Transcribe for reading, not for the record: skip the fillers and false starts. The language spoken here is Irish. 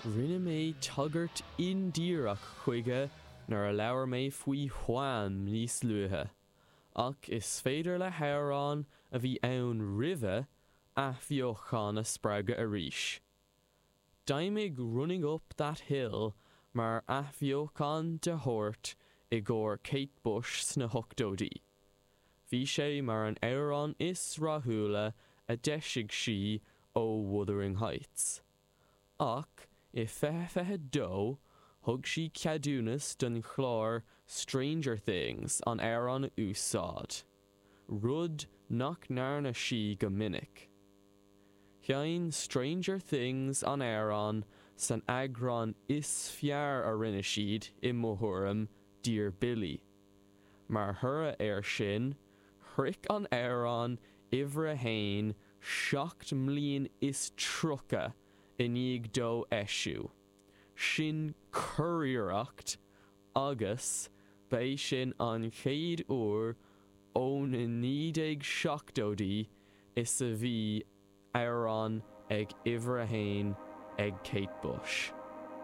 Rinne mé tagairt indíreach chuige nuair a labhair mé faoi Wham níos luaithe, ach is féidir le hamhrán a bhí ann roimhe athbheochan a spreagadh arís. D'fheidhmigh Running Up That Hill mar athbheochan de shórt i gcomhair Kate Bush sna hochtóidí. Bhí sé mar an amhrán is rathúla a d'eisigh sí ó Wuthering Heights. Ach i 2022, thug sí ceadúnas don chlár Stranger Things an amhrán a úsáid, rud nach ndearna sí go minic. Sheinn Stranger Things an amhrán san eagrán is fearr a rinne siad, i mo thuairim, Dear Billy. Mar thoradh air sin, shroich an amhrán uimhir a haon 37 mbliain i ndiaidh dó eisiú. Sin curiarracht agus ba é sin an chéad uair ó na 1970idí is a bhí amhrán ag uimhir a haon ag Kate Bush.